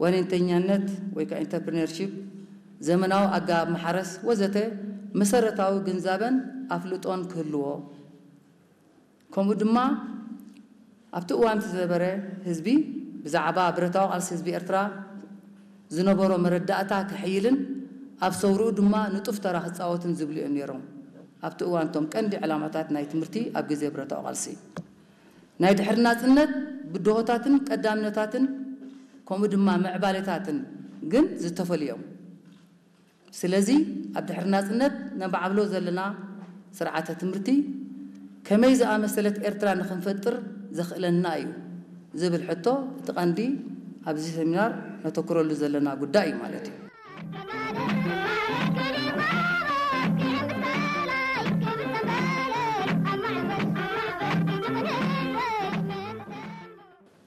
ዋኒንተኛነት ወይ ከዓ ኢንተርፕሪነርሺፕ፣ ዘመናዊ ኣገባብ ማሕረስ ወዘተ መሰረታዊ ግንዛበን ኣፍልጦን ክህልዎ፣ ከምኡ ድማ ኣብቲ እዋን እቲ ዝነበረ ህዝቢ ብዛዕባ ብረታዊ ቃልሲ ህዝቢ ኤርትራ ዝነበሮ መረዳእታ ክሕይልን ኣብ ሰውርኡ ድማ ንጡፍ ተራ ክጻወትን ዝብሉ እዮም ነይሮም። ኣብቲ እዋን እቶም ቀንዲ ዕላማታት ናይ ትምህርቲ ኣብ ግዜ ብረታዊ ቃልሲ ናይ ድሕሪ ናጽነት ብድሆታትን ቀዳምነታትን ከምኡ ድማ ምዕባሌታትን ግን ዝተፈልዮም። ስለዚ ኣብ ድሕሪ ናጽነት ነማዕብሎ ዘለና ስርዓተ ትምህርቲ ከመይ ዝኣመሰለት ኤርትራ ንኽንፈጥር ዘኽእለና እዩ ዝብል ሕቶ እቲ ቀንዲ ኣብዚ ሰሚናር ነተኩረሉ ዘለና ጉዳይ እዩ ማለት እዩ።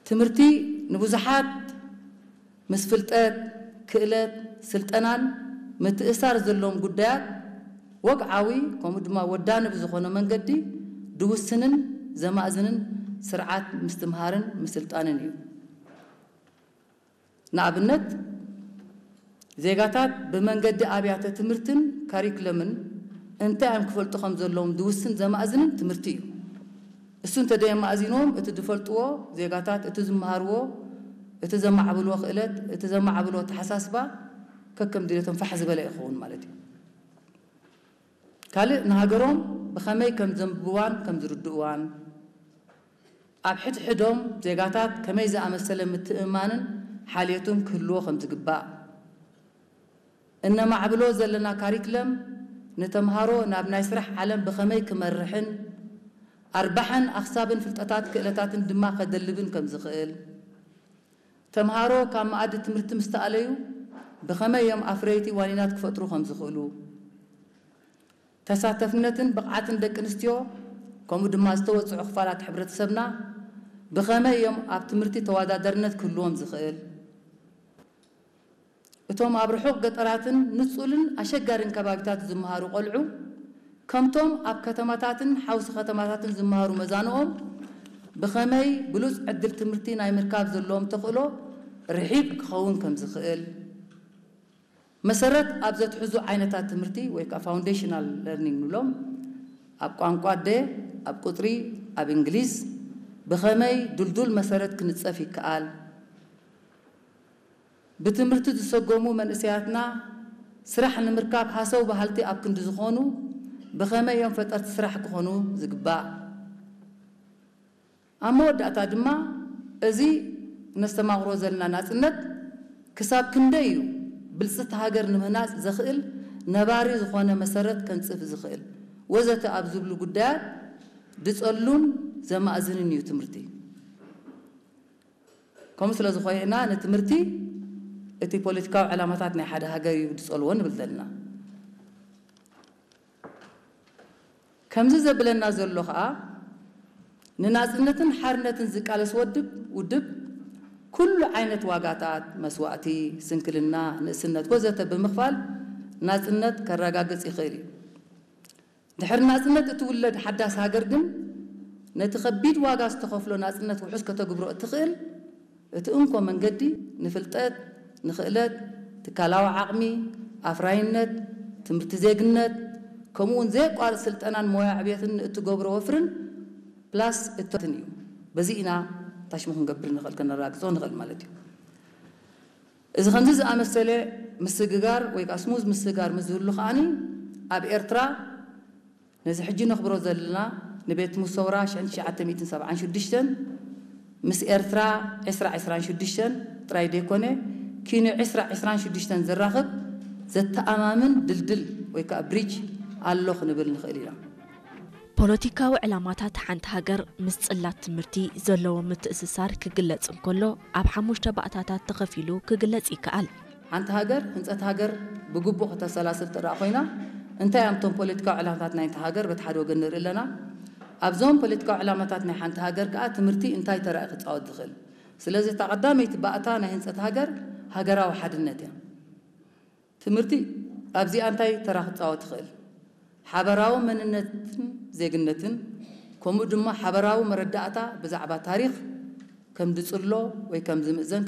ትምህርቲ ንብዙሓት ምስ ፍልጠት፣ ክእለት፣ ስልጠናን ምትእሳር ዘለዎም ጉዳያት ወግዓዊ ከምኡ ድማ ወዳኒ ብዝኾነ መንገዲ ድውስንን ዘማእዝንን ስርዓት ምስትምሃርን ምስልጣንን እዩ። ንኣብነት፣ ዜጋታት ብመንገዲ ኣብያተ ትምህርትን ካሪክለምን እንታይ እዮም ክፈልጡ ከም ዘለዎም ድውስን ዘማእዝንን ትምህርቲ እዩ። እሱ እንተደየማእዚንዎም፣ እቲ ዝፈልጥዎ ዜጋታት፣ እቲ ዝመሃርዎ፣ እቲ ዘማዕብልዎ ክእለት፣ እቲ ዘማዕብልዎ ኣተሓሳስባ ከከም ድሌቶም ፋሕ ዝበለ ይኸውን ማለት እዩ። ካልእ ንሃገሮም ብኸመይ ከም ዘንብብዋን ከም ዝርድእዋን፣ ኣብ ሕድሕዶም ዜጋታት ከመይ ዝኣመሰለ ምትእምማንን ሓልዮትን ክህልዎ ከም ዝግባእ፣ እነማዕብሎ ዘለና ካሪክለም ንተምሃሮ ናብ ናይ ስራሕ ዓለም ብኸመይ ክመርሕን ኣርባሕን ኣኽሳብን ፍልጠታት ክእለታትን ድማ ከደልብን ከም ዝኽእል፣ ተምሃሮ ካብ መኣዲ ትምህርቲ ምስ ተኣለዩ ብኸመይ እዮም ኣፍረይቲ ዋኒናት ክፈጥሩ ከም ዝኽእሉ፣ ተሳተፍነትን ብቕዓትን ደቂ ኣንስትዮ ከምኡ ድማ ዝተወጽዑ ክፋላት ሕብረተሰብና ብኸመይ እዮም ኣብ ትምህርቲ ተወዳዳርነት ክህልዎም ዝኽእል፣ እቶም ኣብ ርሑቕ ገጠራትን ንጹልን ኣሸጋሪን ከባቢታት ዝመሃሩ ቆልዑ ከምቶም ኣብ ከተማታትን ሓውሲ ከተማታትን ዝመሃሩ መዛንኦም ብኸመይ ብሉጽ ዕድል ትምህርቲ ናይ ምርካብ ዘለዎም ተኽእሎ ርሒብ ክኸውን ከም ዝኽእል፣ መሰረት ኣብ ዘትሕዙ ዓይነታት ትምህርቲ ወይ ከዓ ፋውንዴሽናል ለርኒንግ ንብሎም፣ ኣብ ቋንቋ ኣደ፣ ኣብ ቁጽሪ፣ ኣብ እንግሊዝ ብኸመይ ድልዱል መሰረት ክንጸፍ ይከኣል፣ ብትምህርቲ ዝሰጎሙ መንእሰያትና ስራሕ ንምርካብ ሃሰው በሃልቲ ኣብ ክንዲ ዝኾኑ ብኸመይ እዮም ፈጠርቲ ስራሕ ክኾኑ ዝግባእ? ኣብ መወዳእታ ድማ፣ እዚ ነስተማቕሮ ዘለና ናጽነት ክሳብ ክንደይ እዩ ብልጽቲ ሃገር ንምህናጽ ዘኽእል ነባሪ ዝኾነ መሰረት ከንጽፍ ዝኽእል ወዘተ ኣብ ዝብሉ ጉዳያት ድጸሉን ዘማእዝንን እዩ ትምህርቲ። ከምኡ ስለ ዝኾነ ኢና ንትምህርቲ እቲ ፖለቲካዊ ዕላማታት ናይ ሓደ ሃገር እዩ ድጸልዎ ንብል ዘለና። ከምዚ ዘብለና ዘሎ ኸኣ፣ ንናጽነትን ሓርነትን ዝቃለስ ወድብ ውድብ ኩሉ ዓይነት ዋጋታት፣ መስዋእቲ፣ ስንክልና፣ ንእስነት ወዘተ ብምኽፋል ናጽነት ከረጋግጽ ይኽእል እዩ። ድሕሪ ናጽነት እትውለድ ሓዳስ ሃገር ግን ነቲ ከቢድ ዋጋ ዝተኸፍሎ ናጽነት ውሑስ ከተግብሮ እትኽእል እቲ እንኮ መንገዲ ንፍልጠት፣ ንኽእለት፣ ትካላዊ ዓቕሚ፣ ኣፍራይነት፣ ትምህርቲ ዜግነት፣ ከምኡ እውን ዘየቋርጽ ስልጠናን ሞያ ዕብየትን ንእትገብሮ ወፍርን ፕላስ እቶትን እዩ። በዚ ኢና ታሽሙ ክንገብር ንኽእል፣ ከነረጋግጾ ንኽእል ማለት እዩ። እዚ ከምዚ ዝኣመሰለ ምስግጋር ወይ ከዓ ስሙዝ ምስግጋር ምስ ዝህሉ ከዓኒ ኣብ ኤርትራ ነዚ ሕጂ ነኽብሮ ዘለና ንቤት ሙሰውራ ሽሕን ትሽዓተ ሚእትን ሰብዓን ሽዱሽተን ምስ ኤርትራ ዕስራ ዕስራን ሽዱሽተን ጥራይ ዘይኮነ ኪኑ ዕስራ ዕስራን ሽዱሽተን ዘራኽብ ዘተኣማምን ድልድል ወይ ከዓ ብሪጅ ኣሎ ክንብል ንኽእል ኢና። ፖለቲካዊ ዕላማታት ሓንቲ ሃገር ምስ ጽላት ትምህርቲ ዘለዎ ምትእስሳር ክግለጽ እንከሎ ኣብ ሓሙሽተ ባእታታት ተኸፊሉ ክግለጽ ይከኣል። ሓንቲ ሃገር ህንጸት ሃገር ብግቡእ ከተሰላስል ትረኣ ኮይና እንታይ እዮም እቶም ፖለቲካዊ ዕላማታት ናይቲ ሃገር በቲ ሓደ ወገን ንርኢ ኣለና። ኣብዞም ፖለቲካዊ ዕላማታት ናይ ሓንቲ ሃገር ከኣ ትምህርቲ እንታይ ተራ እዩ ክጻወት ዝኽእል? ስለዚ እታ ቀዳመይቲ ባእታ ናይ ህንጸት ሃገር ሃገራዊ ሓድነት እያ። ትምህርቲ ኣብዚኣ እንታይ ተራ ክጻወት ይኽእል? ሓበራዊ መንነትን ዜግነትን ከምኡ ድማ ሓበራዊ መረዳእታ ብዛዕባ ታሪኽ ከም ድጽሎ ወይ ከም ዝምእዘን